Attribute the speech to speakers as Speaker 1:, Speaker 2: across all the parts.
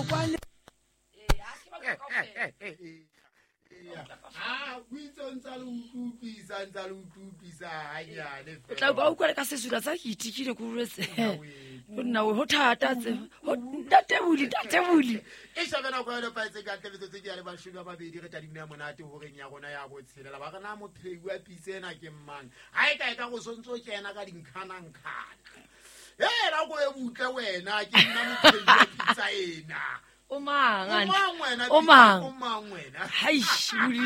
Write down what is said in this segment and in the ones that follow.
Speaker 1: Monokwane. O tla ba utlwa le ka sesula sa ke itikile ko retse nna ho thata tse ntate buli
Speaker 2: e shabe nako ya lefatshe ka ntle metsotso ke ya le bashome ba babedi re tadimo ya monate horeng ya rona ya botshelela ba re na mophei wa pitse ena ke mmang ga e ka e ka go sontse o kena ka dinkganankhana e nako e butle wena ke nna mophei wa pitsa ena.
Speaker 1: O mang?
Speaker 2: O mang wena?
Speaker 1: O mang?
Speaker 2: O mang wena?
Speaker 1: Haish, buli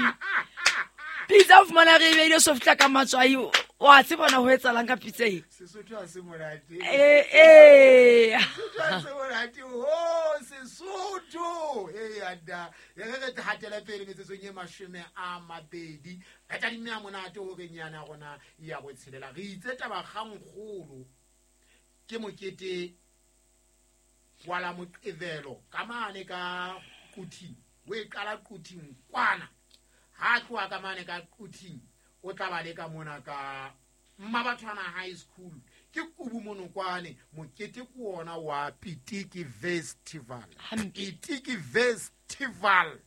Speaker 1: pitsa o fumana re e beile so fihla ka matswai, o a tsebona ho etsalang ka pitsa e.
Speaker 2: Sesotho ha se monate.
Speaker 1: Ee.
Speaker 2: Sesotho ha se monate ho Sesotho. E anda e re re hatele pele metsotsong e 20 re tadime ya monate horeng yana ya rona ya botshelela. Re itse taba kgangkgolo ke mokete wa la Moqebelo ka mane ka Quthing, o e qala Quthing kwana, ha tloha ka mane ka Quthing o tla ba le ka mona ka Mmabathwana High School ke Kubu Monokwane. Mokete ke ona wa Pitiki Festival. Pitiki Festival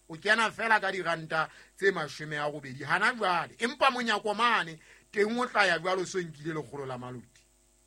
Speaker 2: o kena fela ka diranta tse 80 hana jwale, empa monyako mane teng o tla ya jwalo so nkile 100 la maloti.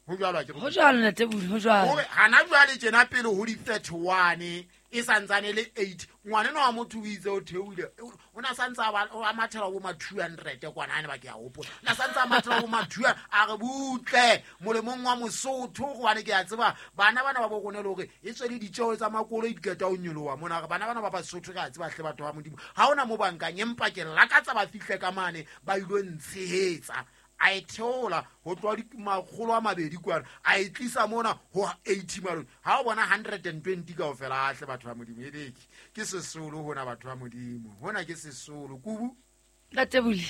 Speaker 2: Ho jwalo ha ke re?
Speaker 1: Ho jwalo ntate Buli, ho jwalo.
Speaker 2: Hore hana jwale tjena pele ho di 31 e santsane le 8, ngwanenwa wa motho o itse o theohile, o na santse a ba a mathela bo ma 200 kwana ane ba ke a hopola. Na santse a mathela bo ma 200, a re butle molemong wa Mosotho gobane ke a tseba bana bana ba bo rona le hore e tswe le ditjeo tsa makoloi di qeta ho nyoloha mona. Re bana bana ba Basotho re a tseba hle batho ba Modimo ha hona mo bankang, empa ke lakatsa ba fihle ka mane ba ilo ntshehetsa. A e theola ho tloha 200 kwana, a e tlisa mona ho 80 malome. Ha o bona 120 kaofela, a hle batho ba Modimo, e beke ke sesolo hona batho ba Modimo, hona ke sesolo. Kubu
Speaker 1: ntate Buli.